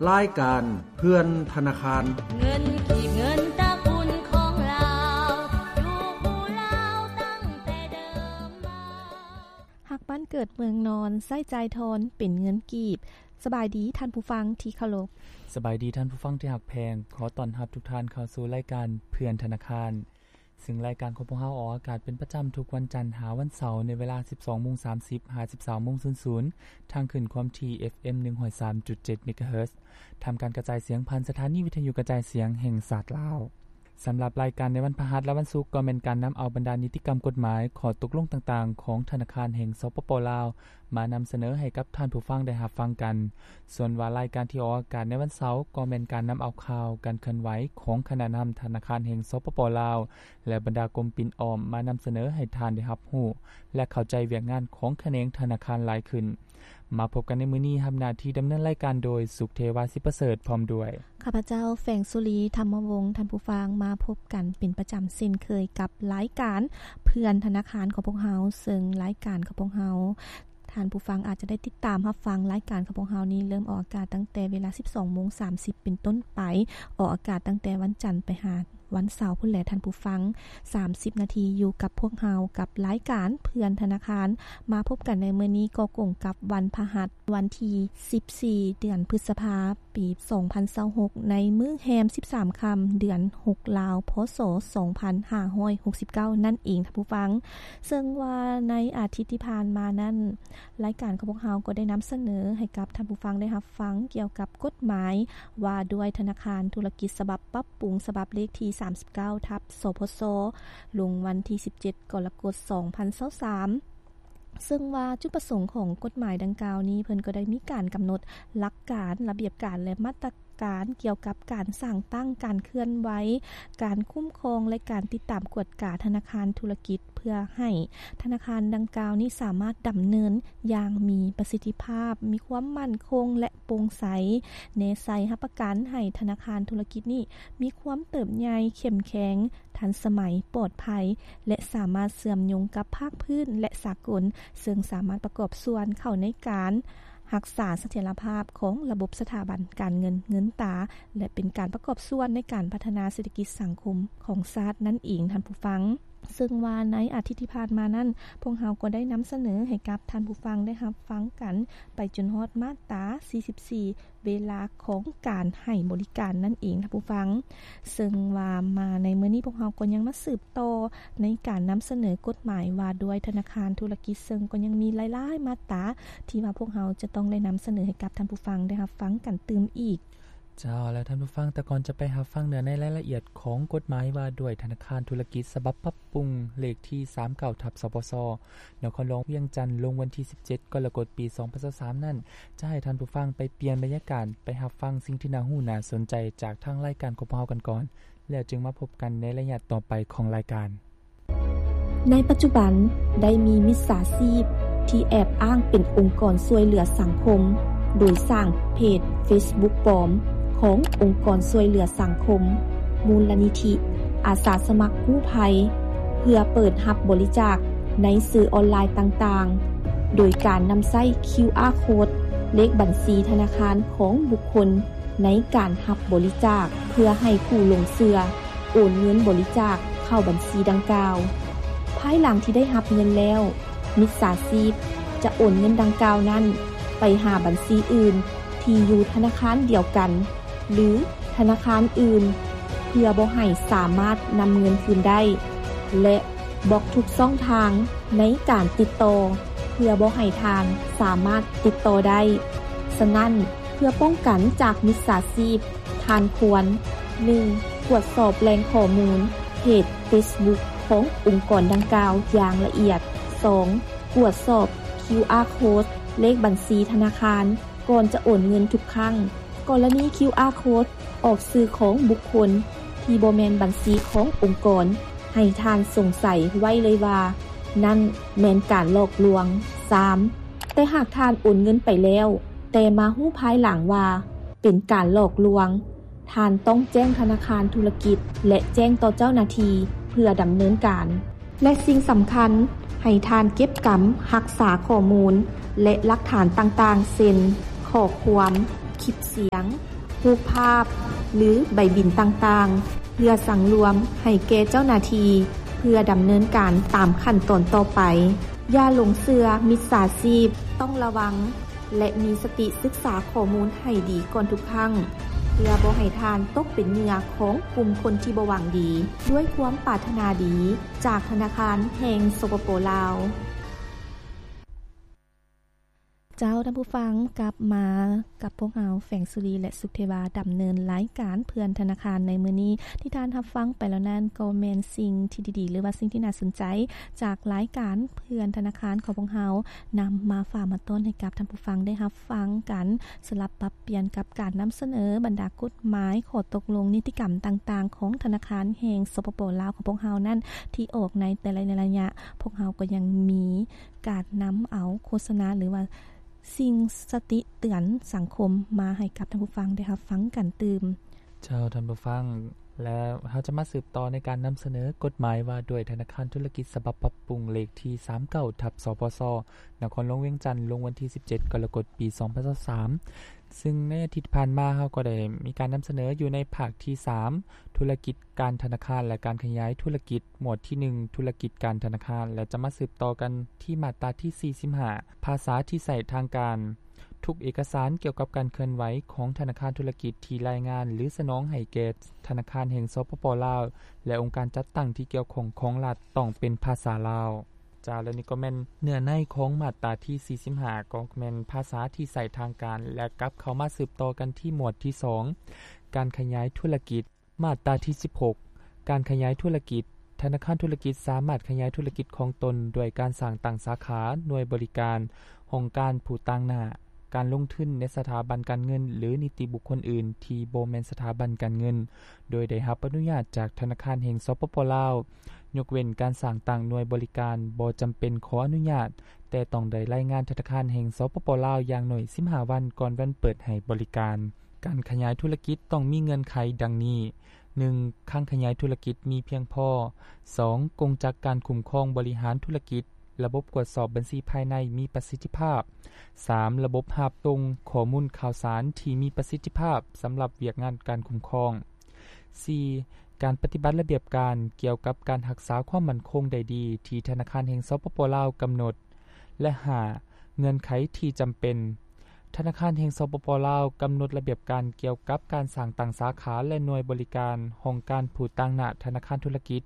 ລາຍການເພື່ອນທະນາຄານ. ເງິນກີບ ເງິນຕະກຸນຂອງລາວ ຢູ່ຄູ່ລາວຕັ້ງແຕ່ເດີມມາ. ຮັກບ້ານເກີດເມືອງນອນ ໃຊ້ຈ່າຍທອນເປັນເງິນກີບ. ສະບາຍດີທ່ານຜູ້ຟັງທີ່ເຄົາລົບ. ສະບາຍດີທ່ານຜູ້ຟັງທີ່ຮັກແພງ. ຂໍຕ້ອນຮັບທຸກທ່ານເຂົ້າສູ່ລາຍການເພື່ອນທະນາຄານ. ຊຶ່ງລາຍການຂອງພວກເຮົາອອກອາກາດເປັນປະຈຳທຸກວັນຈັນຫາວັນເສົາ ໃນເວລາສິບສອງໂມງສາມສິບຫາສິບສາມໂມງສູນສູນ ທາງຄື້ນຄວາມຖີ່ ເອັຟເອັມ ໜຶ່ງຮ້ອຍສາມຈຸດເຈັດ ເມກາເຮີດ ທຳການກະຈາຍສຽງຜ່ານສະຖານີວິທະຍຸກະຈາຍສຽງແຫ່ງຊາດລາວ. ສຳລັບລາຍການໃນວັນພະຫັດ ແລະ ວັນສຸກ ກໍແມ່ນການນຳເອົາບັນດານິຕິກຳກົດໝາຍ, ຂໍ້ຕົກລົງຕ່າງໆຂອງທະນາຄານແຫ່ງ ສປປ ລາວ ມານຳສະເໜີໃຫ້ກັບທ່ານຜູ້ຟັງໄດ້ຮັບຟັງກັນ. ສ່ວນວ່າລາຍການທີ່ອອກອາກາດໃນວັນເສົາ ກໍແມ່ນການນຳເອົາຂ່າວການເຄື່ອນໄຫວຂອງຄະນະນຳທະນາຄານແຫ່ງ ສປປ ລາວ ແລະ ບັນດາກົມປິ່ນອ້ອມ ມານຳສະເໜີໃຫ້ທ່ານໄດ້ຮັບຮູ້ ແລະ ເຂົ້າໃຈວຽກງານຂອງຂະແໜງທະນາຄານຫຼາຍຂຶ້ນ. ມາພົບກັນໃນມື້ນີ້, ຮັບໜ້າທີ່ດຳເນີນລາຍການໂດຍ ສຸກເທວາ ສິປະເສີດ ພ້ອມດ້ວຍ ຂ້າພະເຈົ້າ ແຝງສຸລີ ທຳມະວົງ. ທ່ານຜູ້ຟັງ, ມາພົບກັນເປັນປະຈຳເຊັ່ນເຄີຍກັບລາຍການເພື່ອນທະນາຄານຂອງພວກເຮົາ, ເຊິ່ງລາຍການຂອງພວກເຮົາ ທ່ານຜູ້ຟັງອາດຈະໄດ້ຕິດຕາມຮັບຟັງລາຍການຂອງພວກເຮົານີ້ ເລີ່ມອອກອາກາດຕັ້ງແຕ່ເວລາສິບສອງໂມງສາມສິບເປັນຕົ້ນໄປ, ອອກອາກາດຕັ້ງແຕ່ວັນຈັນໄປຫາວັນເສົາພຸ້ນແຫຼະທ່ານຜູ້ຟັງ. ສາມສິບນາທີຢູ່ກັບພວກເຮົາ ກັບລາຍການເພື່ອນທະນາຄານ. ມາພົບກັນໃນມື້ນີ້ກໍກົງກັບວັນພະຫັດ ວັນທີສິບສີ່ ເດືອນພຶດສະພາ ປີສອງພັນຊາວຫົກ ໃນມື້ແຮມສິບສາມຄ່ຳ ເດືອນຫົກລາວ ພ.ສ. ສອງພັນຫ້າຮ້ອຍຫົກສິບເກົ້າ ນັ້ນເອງທ່ານຜູ້ຟັງ. ເຊິ່ງວ່າໃນອາທິດທີ່ຜ່ານມານັ້ນ, ລາຍການຂອງພວກເຮົາກໍໄດ້ນຳສະເໜີໃຫ້ກັບທ່ານຜູ້ຟັງໄດ້ຮັບຟັງກ່ຽວກັບກົດໝາຍວ່າດ້ວຍທະນາຄານທຸລະກິດ ສະບັບປັບປຸງ ສະບັບເລກທີສາມສິບເກົ້າ ທັບ ສພສ ລົງວັນທີສິບເຈັດ ກໍລະກົດ ສອງພັນຊາວສາມ. ເຊິ່ງວ່າຈຸດປະສົງຂອງກົດໝາຍດັ່ງກ່າວນີ້ ເພິ່ນກໍໄດ້ມີການກຳນົດຫຼັກການ, ລະບຽບການ ແລະ ມາດຕະການກ່ຽວກັບການສ້າງຕັ້ງ, ການເຄື່ອນໄຫວ, ການຄຸ້ມຄອງ ແລະ ການຕິດຕາມກວດກາທະນາຄານທຸລະກິດ ເພື່ອໃຫ້ທະນາຄານດັ່ງກ່າວນີ້ສາມາດດຳເນີນຢ່າງມີປະສິດທິພາບ, ມີຄວາມໝັ້ນຄົງ ແລະ ໂປ່ງໃສ, ແນໃສ່ຮັບປະກັນໃຫ້ທະນາຄານທຸລະກິດນີ້ມີຄວາມເຕີບໃຫຍ່, ເຂັ້ມແຂງ, ທັນສະໄໝ, ປອດໄພ ແລະ ສາມາດເຊື່ອມໂຍງກັບພາກພື້ນ ແລະ ສາກົນ, ເຊິ່ງສາມາດປະກອບສ່ວນເຂົ້າໃນການຮັກສາສະຖຽນລະພາບຂອງລະບົບສະຖາບັນການເງິນເງິນຕາ ແລະ ເປັນການປະກອບສ່ວນໃນການພັດທະນາເສດຖະກິດສັງຄົມຂອງຊາດນັ້ນເອງທ່ານຜູ້ຟັງ. ເຊິ່ງວ່າໃນອາທິດທີ່ຜ່ານມານັ້ນ, ພວກເຮົາກໍໄດ້ນຳສະເໜີໃຫ້ກັບທ່ານຜູ້ຟັງໄດ້ຮັບຟັງກັນໄປຈົນຮອດມາດຕາສີ່ສິບສີ່ ເວລາຂອງການໃຫ້ບໍລິການນັ້ນເອງທ່ານຜູ້ຟັງ. ເຊິ່ງວ່າມາໃນມື້ນີ້ ພວກເຮົາກໍຍັງມາສືບຕໍ່ໃນການນຳສະເໜີກົດໝາຍວ່າດ້ວຍທະນາຄານທຸລະກິດ, ເຊິ່ງກໍຍັງມີຫຼາຍໆມາດຕາທີ່ວ່າພວກເຮົາຈະຕ້ອງໄດ້ນຳສະເໜີໃຫ້ກັບທ່ານຜູ້ຟັງໄດ້ຮັບຟັງກັນຕື່ມອີກ. ເຈົ້າ ແລ້ວທ່ານຜູ້ຟັງ, ແຕ່ກ່ອນຈະໄປຮັບຟັງເນື້ອໃນລາຍລະອຽດຂອງກົດໝາຍວ່າດ້ວຍທະນາຄານທຸລະກິດ ສະບັບປັບປຸງ ເລກທີສາມເກົ້າ ທັບ ສພສ ນະຄອນຫຼວງວຽງຈັນ ລົງວັນທີສິບເຈັດ ກໍລະກົດ ປີສອງພັນຊາວສາມນັ້ນ, ຈະໃຫ້ທ່ານຜູ້ຟັງໄປປ່ຽນບັນຍາກາດ, ໄປຮັບຟັງສິ່ງທີ່ໜ້າຮູ້ໜ້າສົນໃຈຈາກທາງລາຍການຂອງພວກເຮົາກັນກ່ອນ, ແລ້ວຈຶ່ງມາພົບກັນໃນໄລຍະຕໍ່ໄປຂອງລາຍການ. ໃນປັດຈຸບັນໄດ້ມີມິດສາຊີບທີ່ແອບອ້າງເປັນອົງກອນຊ່ວຍເຫຼືອສັງຄົມ, ໂດຍສ້າງເພຈເຟສບຸກປອມຂອງອົງກອນຊ່ວຍເຫຼືອສັງຄົມ, ມູນລະນິທິ, ອາສາສະໝັກກູ້ໄພ, ເພື່ອເປີດຮັບບໍລິຈາກໃນສື່ອອນລາຍຕ່າງໆ, ໂດຍການນຳໃຊ້ຄິວອາໂຄດ, ເລກບັນຊີທະນາຄານຂອງບຸກຄົນໃນການຮັບບໍລິຈາກ, ເພື່ອໃຫ້ຜູ້ຫຼົງເຊື່ອ ໂອນເງິນບໍລິຈາກເຂົ້າບັນຊີດັ່ງກ່າວ. ພາຍຫຼັງທີ່ໄດ້ຮັບເງິນແລ້ວ, ມິດສາຊີບຈະໂອນເງິນດັ່ງກ່າວນັ້ນໄປຫາບັນຊີອື່ນທີ່ຢູ່ທະນາຄານດຽວກັນ ຫຼື ທະນາຄານອື່ນ ເພື່ອບໍ່ໃຫ້ສາມາດນຳເງິນຄືນໄດ້ ແລະ ບລັອກທຸກຊ່ອງທາງໃນການຕິດຕໍ່ ເພື່ອບໍ່ໃຫ້ທ່ານສາມາດຕິດຕໍ່ໄດ້. ສະນັ້ນ, ເພື່ອປ້ອງກັນຈາກມິດສາຊີບ, ທ່ານຄວນ ໜຶ່ງ ກວດສອບແຫຼ່ງຂໍ້ມູນເພຈເຟສບຸກຂອງອົງກອນດັ່ງກ່າວຢ່າງລະອຽດ. ສອງ ກວດສອບຄິວອາໂຄດ ເລກບັນຊີທະນາຄານ ກ່ອນຈະໂອນເງິນທຸກຄັ້ງ. ກໍລະນີຄິວອາໂຄດອອກຊື່ຂອງບຸກຄົນທີ່ບໍ່ແມ່ນບັນຊີຂອງອົງກອນ, ໃຫ້ທ່ານສົງໄສໄວ້ເລີຍວ່າ ນັ້ນແມ່ນການຫຼອກລວງ. ສາມ ແຕ່ຫາກທ່ານໂອນເງິນໄປແລ້ວ, ແຕ່ມາຮູ້ພາຍຫຼັງວ່າເປັນການຫຼອກລວງ, ທ່ານຕ້ອງແຈ້ງທະນາຄານທຸລະກິດ ແລະ ແຈ້ງຕໍ່ເຈົ້າໜ້າທີ່ເພື່ອດຳເນີນການ. ແລະ ສິ່ງສຳຄັນ, ໃຫ້ທ່ານເກັບກຳຮັກສາຂໍ້ມູນ ແລະ ຫຼັກຖານຕ່າງໆ ເຊັ່ນ ຂໍ້ຄວາມ, ຄລິບສຽງ, ຮູບພາບ ຫຼື ໃບບິນຕ່າງໆ ເພື່ອສັງລວມໃຫ້ແກ່ເຈົ້າໜ້າທີ່ ເພື່ອດຳເນີນການຕາມຂັ້ນຕອນຕໍ່ໄປ. ຢ່າຫຼົງເຊື່ອມິດສາຊີບ, ຕ້ອງລະວັງ ແລະ ມີສະຕິສຶກສາຂໍ້ມູນໃຫ້ດີກ່ອນທຸກຄັ້ງ ເພື່ອບໍ່ໃຫ້ທ່ານຕົກເປັນເຫຍື່ອຂອງກຸ່ມຄົນທີ່ບໍ່ຫວັງດີ. ດ້ວຍຄວາມປາດຖະໜາດີ ຈາກທະນາຄານແຫ່ງ ສປປ ລາວ. ເຈົ້າ ທ່ານຜູ້ຟັງ, ກັບມາກັບພວກເຮົາ ແຟງສຸລີ ແລະ ສຸກເທວາ ດຳເນີນລາຍການເພື່ອນທະນາຄານໃນມື້ນີ້. ທີ່ທ່ານຮັບຟັງໄປແລ້ວນັ້ນ ກໍແມ່ນສິ່ງທີ່ດີໆ ຫຼືວ່າສິ່ງທີ່ໜ້າສົນໃຈ ຈາກລາຍການເພື່ອນທະນາຄານຂອງພວກເຮົາ ນຳມາຝາກມາຕ້ອນໃຫ້ກັບທ່ານຜູ້ຟັງໄດ້ຮັບຟັງກັນ, ສະຫຼັບປັບປ່ຽນກັບການນຳສະເໜີບັນດາກົດໝາຍ, ຂໍ້ຕົກລົງ, ນິຕິກຳຕ່າງໆ ຂອງທະນາຄານແຫ່ງ ສປປ ລາວ ຂອງພວກເຮົານັ້ນ ທີ່ອອກໃນແຕ່ລະໄລຍະ. ພວກເຮົາກໍຍັງມີ ການນຳເອົາໂຄສະນາ ຫຼືວ່າສິ່ງສະຕິເຕືອນສັງຄົມມາໃຫ້ກັບທ່ານຜູ້ຟັງໄດ້ຮັບຟັງກັນຕື່ມ. ເຈົ້າ ທ່ານຜູ້ຟັງ, ແລະ ເຮົາຈະມາສືບຕໍ່ໃນການນຳສະເໜີກົດໝາຍວ່າດ້ວຍທະນາຄານທຸລະກິດສະບັບປັບປຸງ ເລກທີສາມເກົ້າ ທັບ ສພຊ ນະຄອນຫຼວງວຽງຈັນ ລົງວັນທີສິບເຈັດ ກໍລະກົດ ປີສອງພັນຊາວສາມ. ຊຶ່ງໃນອາທິດຜ່ານມາ ເຮົາກໍໄດ້ມີການນຳສະເໜີຢູ່ໃນພາກທີສາມ ທຸລະກິດການທະນາຄານ ແລະ ການຂະຫຍາຍທຸລະກິດ, ໝວດທີໜຶ່ງ ທຸລະກິດການທະນາຄານ ແລະ ຈະມາສືບຕໍ່ກັນທີ່ມາດຕາທີສີ່ສິບຫ້າ ພາສາທີ່ໃຊ້ທາງການ. ທຸກເອກະສານກ່ຽວກັບການເຄື່ອນໄຫວຂອງທະນາຄານທຸລະກິດທີ່ລາຍງານ ຫຼື ສະໜອງໃຫ້ແກ່ທະນາຄານແຫ່ງ ສປປ ລາວ ແລະ ອົງການຈັດຕັ້ງທີ່ກ່ຽວຂ້ອງຂອງລັດ ຕ້ອງເປັນພາສາລາວ. ເຈົ້າ ແລະ ນີ້ກໍແມ່ນເນື້ອໃນຂອງມາດຕາທີສີ່ສິບຫ້າ ກໍແມ່ນພາສາທີ່ໃຊ້ທາງການ ແລະ ກັບເຂົ້າມາສືບຕໍ່ກັນທີ່ໝວດທີສອງ ການຂະຫຍາຍທຸລະກິດ. ມາດຕາທີສິບຫົກ ການຂະຫຍາຍທຸລະກິດ. ທະນາຄານທຸລະກິດສາມາດຂະຫຍາຍທຸລະກິດຂອງຕົນດ້ວຍການສ້າງຕັ້ງສາຂາ, ໜ່ວຍບໍລິການ, ຫ້ອງການຜູ້ຕາງໜ້າ, ການລົງທຶນໃນສະຖາບັນການເງິນ ຫຼື ນິຕິບຸກຄົນອື່ນທີ່ບໍ່ແມ່ນສະຖາບັນການເງິນ ໂດຍໄດ້ຮັບອະນຸຍາດຈາກທະນາຄານແຫ່ງ ສປປ ລາວ. ຍົກເວັ້ນການສ້າງຕັ້ງໜ່ວຍບໍລິການບໍ່ຈຳເປັນຂໍອະນຸຍາດ, ແຕ່ຕ້ອງໄດ້ລາຍງານທະນາຄານແຫ່ງ ສປປ ລາວ ຢ່າງໜ້ອຍສິບຫ້າວັນກ່ອນວັນເປີດໃຫ້ບໍລິການ. ການຂະຫຍາຍທຸລະກິດຕ້ອງມີເງື່ອນໄຂດັ່ງນີ້: ໜຶ່ງ ຄັງຂະຫຍາຍທຸລະກິດມີພຽງພໍ. ສອງ ກົງຈັກການຄຸ້ມຄອງບໍລິຫານທຸລະກິດ, ລະບົບກວດສອບບັນຊີພາຍໃນມີປະສິດທິພາບ. ສາມ ລະບົບຮັບສົ່ງຂໍ້ມູນຂ່າວສານທີ່ມີປະສິດທິພາບສຳລັບວຽກງານການຄຸ້ມຄອງ. ສີ່ ການປະຕິບັດລະບຽບການກ່ຽວກັບການຮັກສາຄວາມໝັ້ນຄົງໄດ້ດີທີ່ທະນາຄານແຫ່ງ ສປປ ລາວ ກຳນົດ ແລະ ຫ້າ ເງື່ອນໄຂທີ່ຈຳເປັນ. ທະນາຄານແຫ່ງ ສປປ ລາວ ກຳນົດລະບຽບການກ່ຽວກັບການສ້າງຕັ້ງສາຂາ ແລະ ໜ່ວຍບໍລິການຫ້ອງການຜູ້ຕາງໜ້າທະນາຄານທຸລະກິດ.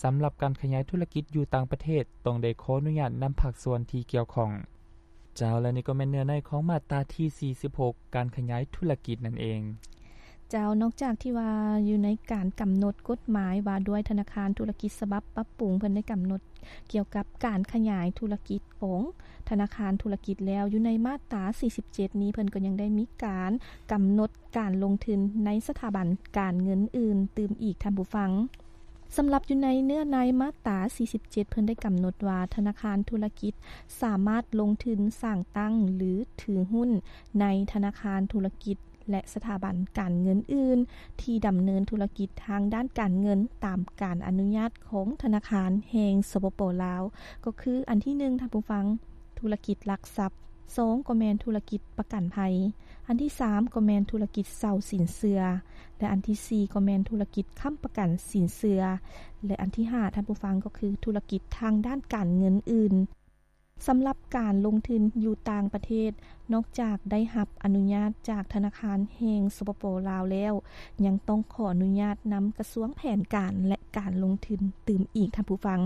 ສຳລັບການຂະຫຍາຍທຸລະກິດຢູ່ຕ່າງປະເທດ ຕ້ອງໄດ້ຂໍອະນຸຍາດນຳພາກສ່ວນທີ່ກ່ຽວຂ້ອງ. ເຈົ້າ ແລະ ນີ້ກໍແມ່ນເນື້ອໃນຂອງມາດຕາທີສີ່ສິບຫົກ ການຂະຫຍາຍທຸລະກິດນັ້ນເອງ. ເຈົ້າ, ນອກຈາກທີ່ວ່າຢູ່ໃນການກຳນົດກົດໝາຍວ່າດ້ວຍທະນາຄານທຸລະກິດສະບັບປັບປຸງ ເພິ່ນໄດ້ກຳນົດກ່ຽວກັບການຂະຫຍາຍທຸລະກິດຂອງທະນາຄານທຸລະກິດແລ້ວ, ຢູ່ໃນມາດຕາສີ່ສິບເຈັດນີ້ ເພິ່ນກໍຍັງໄດ້ມີການກຳນົດການລົງທຶນໃນສະຖາບັນການເງິນອື່ນຕື່ມອີກ, ທ່ານຜູ້ຟັງ. ສຳລັບຢູ່ໃນເນື້ອໃນມາດຕາສີ່ສິບເຈັດ ເພິ່ນໄດ້ກຳນົດວ່າ ທະນາຄານທຸລະກິດສາມາດລົງທຶນສ້າງຕັ້ງ ຫຼື ຖືຫຸ້ນໃນທະນາຄານທຸລະກິດ ແລະ ສະຖາບັນການເງິນອື່ນ ທີ່ດຳເນີນທຸລະກິດທາງດ້ານການເງິນ ຕາມການອະນຸຍາດຂອງທະນາຄານແຫ່ງ ສປປ ລາວ ກໍຄື ອັນທີໜຶ່ງ ທ່ານຜູ້ຟັງ, ທຸລະກິດຫຼັກຊັບ, ສອງ ກໍແມ່ນທຸລະກິດປະກັນໄພ, ອັນທີສາມ ກໍແມ່ນທຸລະກິດເຊົ່າສິນເຊື່ອ ແລະ ອັນທີສີ່ ກໍແມ່ນທຸລະກິດຄ້ຳປະກັນສິນເຊື່ອ ແລະ ອັນທີຫ້າ ທ່ານຜູ້ຟັງ, ກໍຄືທຸລະກິດທາງດ້ານການເງິນອື່ນ. ສຳລັບການລົງທຶນຢູ່ຕ່າງປະເທດ, ນອກຈາກໄດ້ຮັບອະນຸຍາດຈາກທະນາຄານແຫ່ງ ສປປ ລາວ ແລ້ວ, ຍັງຕ້ອງຂໍອະນຸຍາດນຳກະຊວງແຜນການ ແລະ ການລົງທຶນຕື່ມອີກ, ທ່ານຜູ້ຟັງ.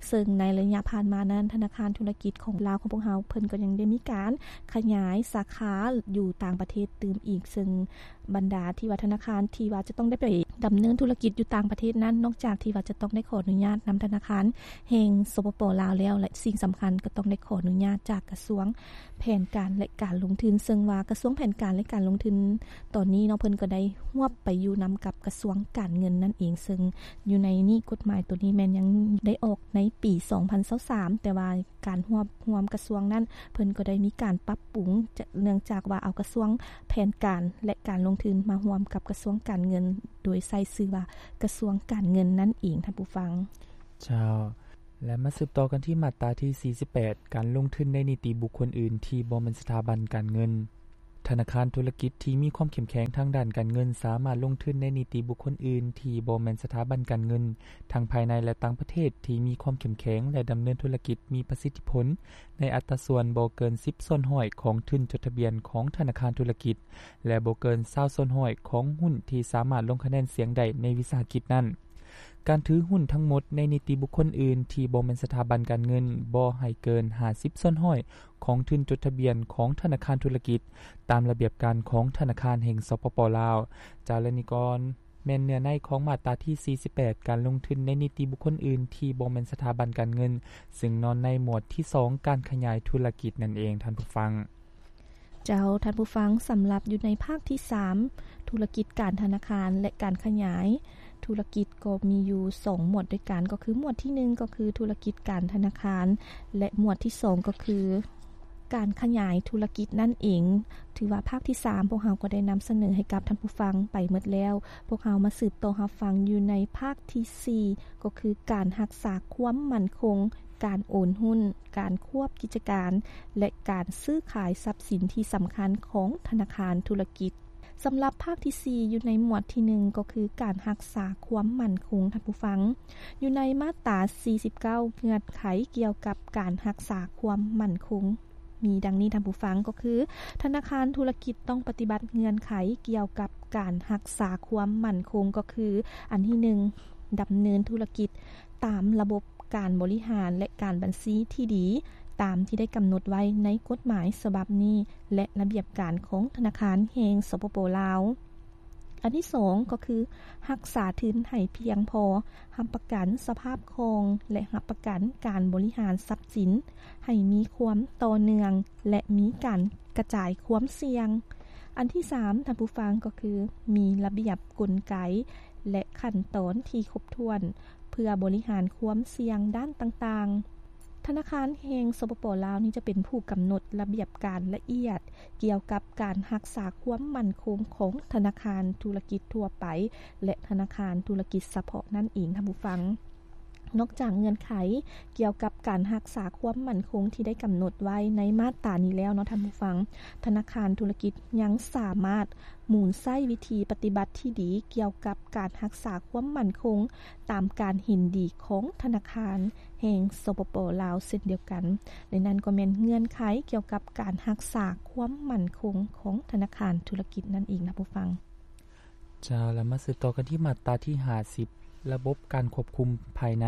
ເຊິ່ງໃນໄລຍະຜ່ານມານັ້ນ, ທະນາຄານທຸລະກິດຂອງລາວຂອງພວກເຮົາ, ເພິ່ນກໍຍັງໄດ້ມີການຂະຫຍາຍສາຂາຢູ່ຕ່າງປະເທດຕື່ມອີກ, ເຊິ່ງບັນດາທີ່ວ່າທະນາຄານທີ່ວ່າຈະຕ້ອງໄດ້ໄປດຳເນີນທຸລະກິດຢູ່ຕ່າງປະເທດນັ້ນ, ນອກຈາກທີ່ວ່າຈະຕ້ອງໄດ້ຂໍອະນຸຍາດນຳທະນາຄານແຫ່ງ ສປປ ລາວ ແລ້ວ, ແລະ ສິ່ງສຳຄັນກໍຕ້ອງໄດ້ຂໍອະນຸຍາດຈາກກະຊວງ ແຜນການ ແລະ ການລົງທຶນ, ເຊິ່ງວ່າກະຊວງແຜນການ ແລະ ການລົງທຶນຕອນນີ້ເນາະ, ເພິ່ນກໍໄດ້ຮວບໄປຢູ່ນຳກັບກະຊວງການເງິນນັ້ນເອງ, ເຊິ່ງຢູ່ໃນນີ້ ກົດໝາຍໂຕນີ້ແມ່ນຍັງໄດ້ອອກໃນປີສອງພັນຊາວສາມ, ແຕ່ວ່າການຮວບຮວມກະຊວງນັ້ນ ເພິ່ນກໍໄດ້ມີການປັບປຸງ, ຈະ ເນື່ອງຈາກວ່າເອົາກະຊວງແຜນການ ແລະ ການລົງທຶນມາຮ່ວມກັບກະຊວງການເງິນ, ໂດຍໃຊ້ຊື່ວ່າກະຊວງການເງິນນັ້ນເອງ, ທ່ານຜູ້ຟັງ. ເຈົ້າ. ແລະ ມາສືບຕໍ່ກັນທີ່ມາດຕາທີສີ່ສິບແປດ ການລົງທຶນໃນນິຕິບຸກຄົນອື່ນທີ່ບໍ່ແມ່ນສະຖາບັນການເງິນ. ທະນາຄານທຸລະກິດທີ່ມີຄວາມເຂັ້ມແຂງທາງດ້ານການເງິນ ສາມາດລົງທຶນໃນນິຕິບຸກຄົນອື່ນທີ່ບໍ່ແມ່ນສະຖາບັນການເງິນ ທັງພາຍໃນ ແລະ ຕ່າງປະເທດ ທີ່ມີຄວາມເຂັ້ມແຂງ ແລະ ດຳເນີນທຸລະກິດມີປະສິດທິຜົນ ໃນອັດຕາສ່ວນບໍ່ເກີນສິບສ່ວນຮ້ອຍຂອງທຶນຈົດທະບຽນຂອງທະນາຄານທຸລະກິດ ແລະ ບໍ່ເກີນຊາວສ່ວນຮ້ອຍຂອງຫຸ້ນທີ່ສາມາດລົງຄະແນນສຽງໄດ້ໃນວິສາຫະກິດນັ້ນ. ການຖືຫຸ້ນທັງໝົດໃນນິຕິບຸກຄົນອື່ນທີ່ບໍ່ແມ່ນສະຖາບັນການເງິນ ບໍ່ໃຫ້ເກີນຫ້າສິບສ່ວນຮ້ອຍຂອງທຶນຈົດທະບຽນຂອງທະນາຄານທຸລະກິດ ຕາມລະບຽບການຂອງທະນາຄານແຫ່ງ ສປປ ລາວ. ເຈົ້າ ແລະ ນີ້ກໍແມ່ນເນື້ອໃນຂອງມາດຕາທີສີ່ສິບແປດ ການລົງທຶນໃນນິຕິບຸກຄົນອື່ນທີ່ບໍ່ແມ່ນສະຖາບັນການເງິນ ຊຶ່ງນອນໃນໝວດທີສອງ ການຂະຫຍາຍທຸລະກິດນັ້ນເອງ ທ່ານຜູ້ຟັງ. ເຈົ້າ ທ່ານຜູ້ຟັງ, ສຳລັບຢູ່ໃນພາກທີສາມ ທຸລະກິດການທະນາຄານ ແລະ ການຂະຫຍາຍທຸລະກິດ ກໍມີຢູ່ສອງໝວດດ້ວຍກັນ, ກໍຄືໝວດທີໜຶ່ງ ກໍຄືທຸລະກິດການທະນາຄານ ແລະ ໝວດທີສອງ ກໍຄືການຂະຫຍາຍທຸລະກິດນັ້ນເອງ. ຖືວ່າພາກທີສາມ ພວກເຮົາກໍໄດ້ນຳສະເໜີໃຫ້ກັບທ່ານຜູ້ຟັງໄປໝົດແລ້ວ. ພວກເຮົາມາສືບຕໍ່ຮັບຟັງຢູ່ໃນພາກທີສີ່ ກໍຄືການຮັກສາຄວາມໝັ້ນຄົງ, ການໂອນຫຸ້ນ, ການຄວບກິດຈະການ ແລະ ການຊື້ຂາຍຊັບສິນທີ່ສຳຄັນຂອງທະນາຄານທຸລະກິດ. ສຳລັບພາກທີສີ່ ຢູ່ໃນໝວດທີໜຶ່ງ ກໍຄືການຮັກສາຄວາມໝັ້ນຄົງ, ທ່ານຜູ້ຟັງ, ຢູ່ໃນມາດຕາສີ່ສິບເກົ້າ ເງື່ອນໄຂກ່ຽວກັບການຮັກສາຄວາມໝັ້ນຄົງ ມີດັ່ງນີ້ ທ່ານຜູ້ຟັງ, ກໍຄືທະນາຄານທຸລະກິດຕ້ອງປະຕິບັດເງື່ອນໄຂກ່ຽວກັບການຮັກສາຄວາມໝັ້ນຄົງ, ກໍຄື ອັນທີໜຶ່ງ ດຳເນີນທຸລະກິດຕາມລະບົບການບໍລິຫານ ແລະ ການບັນຊີທີ່ດີ ຕາມທີ່ໄດ້ກຳນົດໄວ້ໃນກົດໝາຍສະບັບນີ້ ແລະ ລະບຽບການຂອງທະນາຄານແຫ່ງ ສປປ ລາວ. ອັນທີສອງ ກໍຄືຮັກສາທຶນໃຫ້ພຽງພໍ, ຮັບປະກັນສະພາບຄ່ອງ ແລະ ຮັບປະກັນການບໍລິຫານຊັບສິນໃຫ້ມີຄວາມຕໍ່ເນື່ອງ ແລະ ມີການກະຈາຍຄວາມສ່ຽງ. ອັນທີສາມ ທ່ານຜູ້ຟັງ, ກໍຄືມີລະບຽບ, ກົນໄກ ແລະ ຂັ້ນຕອນທີ່ຄົບຖ້ວນ ເພື່ອບໍລິຫານຄວາມສ່ຽງດ້ານຕ່າງໆ. ທະນາຄານແຫ່ງ ສປປ ລາວ ນີ້ຈະເປັນຜູ້ກຳນົດລະບຽບການລະອຽດກ່ຽວກັບການຮັກສາຄວາມໝັ້ນຄົງຂອງທະນາຄານທຸລະກິດທົ່ວໄປ ແລະ ທະນາຄານທຸລະກິດສະເພາະນັ້ນເອງ, ທ່ານຜູ້ຟັງ. ນອກຈາກເງື່ອນໄຂກ່ຽວກັບການຮັກສາຄວາມໝັ້ນຄົງທີ່ໄດ້ກຳນົດໄວ້ໃນມາດຕານີ້ແລ້ວເນາະ ທ່ານຜູ້ຟັງ, ທະນາຄານທຸລະກິດຍັງສາມາດໝູນໃຊ້ວິທີປະຕິບັດທີ່ດີກ່ຽວກັບການຮັກສາຄວາມໝັ້ນຄົງ ຕາມການເຫັນດີຂອງທະນາຄານແຫ່ງ ສປປ ລາວ ເຊັ່ນດຽວກັນ, ແລະ ນັ້ນກໍແມ່ນເງື່ອນໄຂກ່ຽວກັບການຮັກສາຄວາມໝັ້ນຄົງຂອງທະນາຄານທຸລະກິດນັ້ນເອງ ທ່ານຜູ້ຟັງ. ເຈົ້າ ແລ້ວມາສືບຕໍ່ກັນທີ່ມາດຕາທີຫ້າສິບ ລະບົບການຄວບຄຸມພາຍໃນ.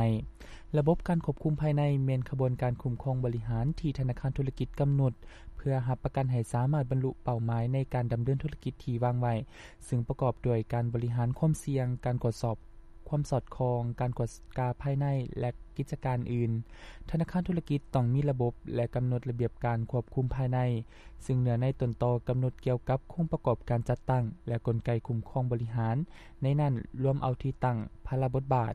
ລະບົບການຄວບຄຸມພາຍໃນແມ່ນຂະບວນການຄຸ້ມຄອງບໍລິຫານທີ່ທະນາຄານທຸລະກິດກຳນົດ ເພື່ອຮັບປະກັນໃຫ້ສາມາດບັນລຸເປົ້າໝາຍໃນການດຳເນີນທຸລະກິດທີ່ວາງໄວ້, ຊຶ່ງປະກອບດ້ວຍການບໍລິຫານຄວາມສ່ຽງ, ການກວດສອບຄວາມສອດຄ່ອງ, ການກວດກາພາຍໃນ ແລະ ກິດຈະການອື່ນ. ທະນາຄານທຸລະກິດຕ້ອງມີລະບົບ ແລະ ກຳນົດລະບຽບການຄວບຄຸມພາຍໃນ, ຊຶ່ງເນື້ອໃນຕົ້ນຕໍກຳນົດກ່ຽວກັບໂຄງປະກອບການຈັດຕັ້ງ ແລະ ກົນໄກຄຸ້ມຄອງບໍລິຫານ, ໃນນັ້ນລວມເອົາທີ່ຕັ້ງ, ພາລະບົດບາດ,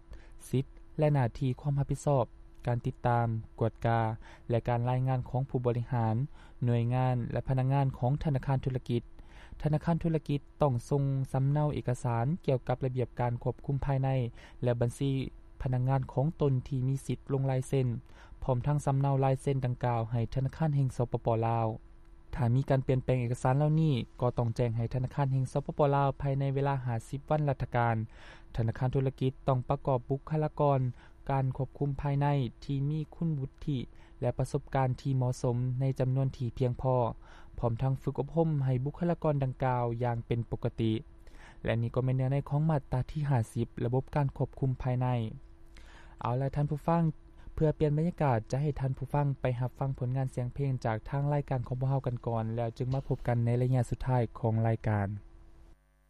ສິດ ແລະ ໜ້າທີ່ຄວາມຮັບຜິດຊອບ, ການຕິດຕາມ, ກວດກາ ແລະ ການລາຍງານຂອງຜູ້ບໍລິຫານ, ໜ່ວຍງານ ແລະ ພະນັກງານຂອງທະນາຄານທຸລະກິດ. ທະນາຄານທຸລະກິດຕ້ອງສົ່ງສຳເນົາເອກະສານກ່ຽວກັບລະບຽບການຄວບຄຸມພາຍໃນ ແລະ ບັນຊີພະນັກງານຂອງຕົນທີ່ມີສິດລົງລາຍເຊັນ, ພ້ອມທັງສຳເນົາລາຍເຊັນດັ່ງກ່າວໃຫ້ທະນາຄານແຫ່ງ ສປປ ລາວ. ຖ້າມີການປ່ຽນແປງເອກະສານເຫຼົ່ານີ້, ກໍຕ້ອງແຈ້ງໃຫ້ທະນາຄານແຫ່ງ ສປປ ລາວ ພາຍໃນເວລາຫ້າສິບວັນລັດຖະການ. ທະນາຄານທຸລະກິດຕ້ອງປະກອບບຸກຄະລາກອນການຄວບຄຸມພາຍໃນທີ່ມີຄຸນວຸດທິ ແລະ ປະສົບການທີ່ເໝາະສົມໃນຈຳນວນທີ່ພຽງພໍ, ພ້ອມທັງຝຶກອົບຮົມໃຫ້ບຸກຄະລາກອນດັ່ງກ່າວຢ່າງເປັນປົກກະຕິ. ແລະ ນີ້ກໍແມ່ນເນື້ອໃນຂອງມາດຕາທີຫ້າສິບ ລະບົບການຄວບຄຸມພາຍໃນ. ເອົາລະ ທ່ານຜູ້ຟັງ, ເພື່ອປ່ຽນບັນຍາກາດ, ຈະໃຫ້ທ່ານຜູ້ຟັງໄປຮັບຟັງຜົນງານສຽງເພງຈາກທາງລາຍການຂອງພວກເຮົາກັນກ່ອນ, ແລ້ວຈຶ່ງມາພົບກັນໃນໄລຍະສຸດທ້າຍຂອງລາຍການ.